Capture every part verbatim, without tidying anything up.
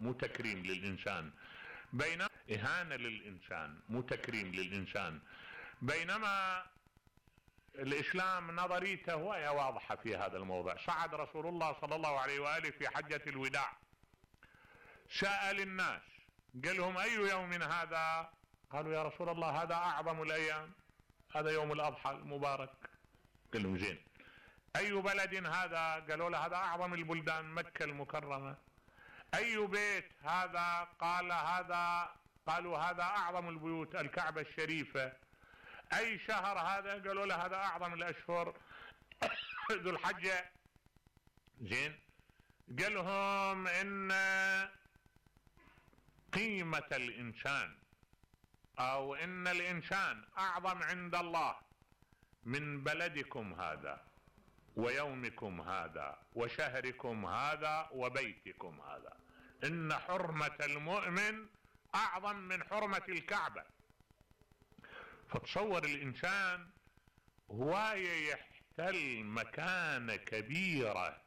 مو تكريم للإنسان، بينما إهانة للإنسان مو تكريم للإنسان. بينما الإسلام نظريته وهي واضحة في هذا الموضوع. صعد رسول الله صلى الله عليه وآله في حجة الوداع، سأل الناس قال لهم أي يوم هذا؟ قالوا يا رسول الله هذا أعظم الأيام، هذا يوم الأضحى المبارك. قال لهم زين. أي بلد هذا؟ قالوا له هذا أعظم البلدان، مكة المكرمة. أي بيت هذا؟ قال هذا قالوا هذا أعظم البيوت، الكعبة الشريفة. أي شهر هذا؟ قالوا له هذا أعظم الأشهر، ذو الحجة. زين. قال لهم إن قيمة الإنسان أو إن الإنسان أعظم عند الله من بلدكم هذا ويومكم هذا وشهركم هذا وبيتكم هذا. إن حرمة المؤمن أعظم من حرمة الكعبة. فتصور الإنسان هو يحتل مكانة كبيرة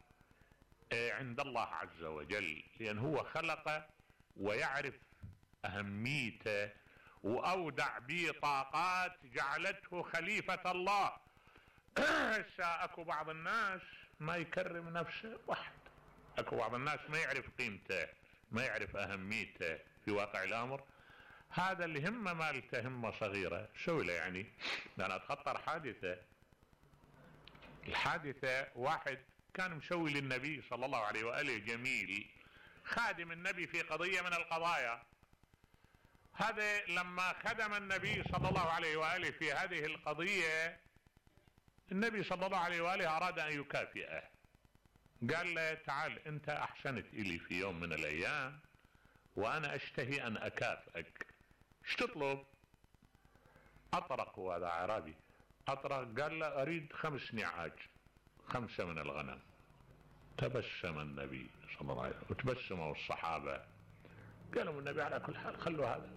عند الله عز وجل، لأن هو خلقه ويعرف أهميته وأودع به طاقات جعلته خليفة الله. اكو بعض الناس ما يكرم نفسه واحد، اكو بعض الناس ما يعرف قيمته، ما يعرف أهميته في واقع الأمر. هذا اللي همه مالته همه صغيرة سوي له. يعني أنا أتخطر حادثة، الحادثة واحد كان مسوي للنبي صلى الله عليه وآله جميل، خادم النبي في قضية من القضايا. هذا لما خدم النبي صلى الله عليه وآله في هذه القضية، النبي صلى الله عليه وآله أراد أن يكافئه. قال له تعال أنت أحسنت إلي في يوم من الأيام وأنا أشتهي أن أكافئك، ايش تطلب؟ أطرق، وهذا عربي أطرق. قال له أريد خمس نعاج، خمسة من الغنم. تبسم النبي صلى الله عليه وسلم وتبسموا الصحابة. قالوا النبي على كل حال خلوا هذا،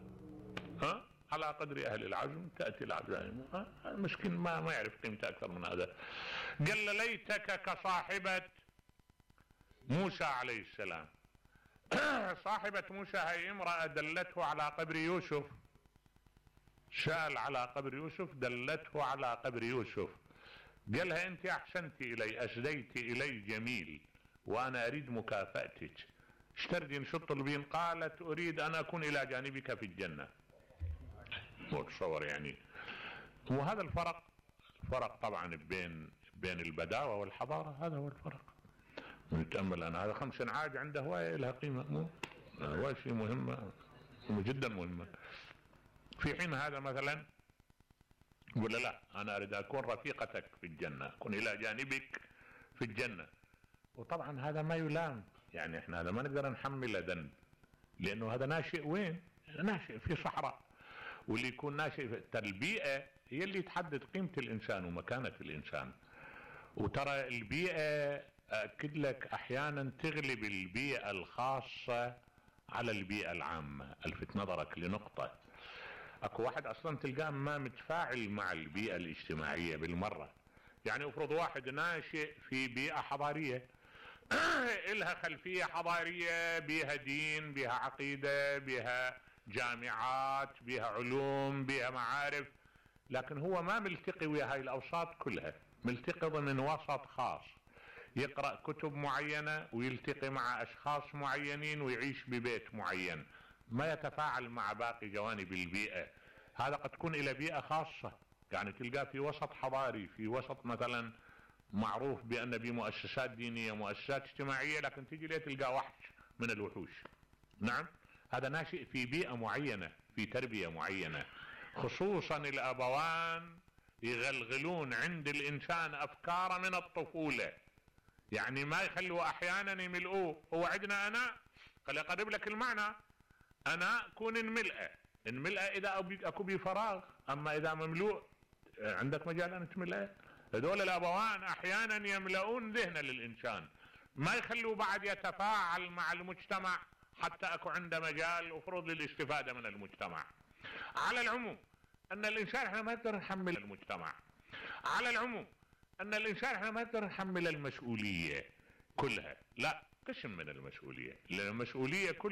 ها على قدر أهل العزم تأتي العزائم. المسكين ما ما يعرف قيمته أكثر من هذا. قال له ليتك كصاحبة موسى عليه السلام. صاحبة موسى هي امرأة دلته على قبر يوسف، سأل على قبر يوسف دلته على قبر يوسف. قالها انت احسنت الي، اسديت الي جميل، وانا اريد مكافأتك. اشتردين شو تطلبين؟ قالت اريد ان اكون الى جانبك في الجنة. مو تصور يعني. وهذا الفرق، الفرق طبعا بين بين البداوة والحضارة، هذا هو الفرق. نتأمل أنا هذا خمس نعاج عنده هواية لها قيمة، مو هواية شيء مهمة جدا مهمة. في حين هذا مثلا يقول لا أنا أريد أكون رفيقتك في الجنة، أكون إلى جانبك في الجنة. وطبعا هذا ما يلام، يعني احنا هذا ما نقدر نحمله ذنب، لأنه هذا ناشئ وين؟ ناشئ في صحراء. واللي يكون ناشئ في البيئة هي اللي تحدد قيمة الإنسان ومكانة الإنسان. وترى البيئة أكد لك أحيانا تغلب البيئة الخاصة على البيئة العامة. ألفت نظرك لنقطة، أكو واحد أصلا تلقاه ما متفاعل مع البيئة الاجتماعية بالمرة. يعني افرض واحد ناشئ في بيئة حضارية إلها خلفية حضارية، بيها دين، بيها عقيدة، بيها جامعات، بيها علوم، بيها معارف، لكن هو ما ملتقي ويا هاي الأوساط كلها، ملتقي ضمن وسط خاص، يقرأ كتب معينة ويلتقي مع أشخاص معينين ويعيش ببيت معين، ما يتفاعل مع باقي جوانب البيئة. هذا قد تكون إلى بيئة خاصة، يعني تلقاه في وسط حضاري، في وسط مثلا معروف بأن بمؤسسات دينية، مؤسسات اجتماعية، لكن تجي ليه تلقاه وحش من الوحوش. نعم، هذا ناشئ في بيئة معينة، في تربية معينة. خصوصا الأبوان يغلغلون عند الإنسان أفكار من الطفولة، يعني ما يخلوا أحيانا يملؤوه. هو عندنا أنا قال أقرب لك المعنى، أنا كون انملأ انملأ إذا أكو بي فراغ، أما إذا مملوء عندك مجال أن تملأ. هذول الأبوان أحيانا يملؤون ذهن للإنسان، ما يخلوا بعد يتفاعل مع المجتمع حتى أكو عنده مجال وفرض للاستفادة من المجتمع. على العموم أن الإنسان احنا ما نقدر نحمل المجتمع، على العموم أن الإنسان احنا ما نقدر نحمل المسؤولية كلها، لا، قسم من المسؤولية، لأن المسؤولية كلها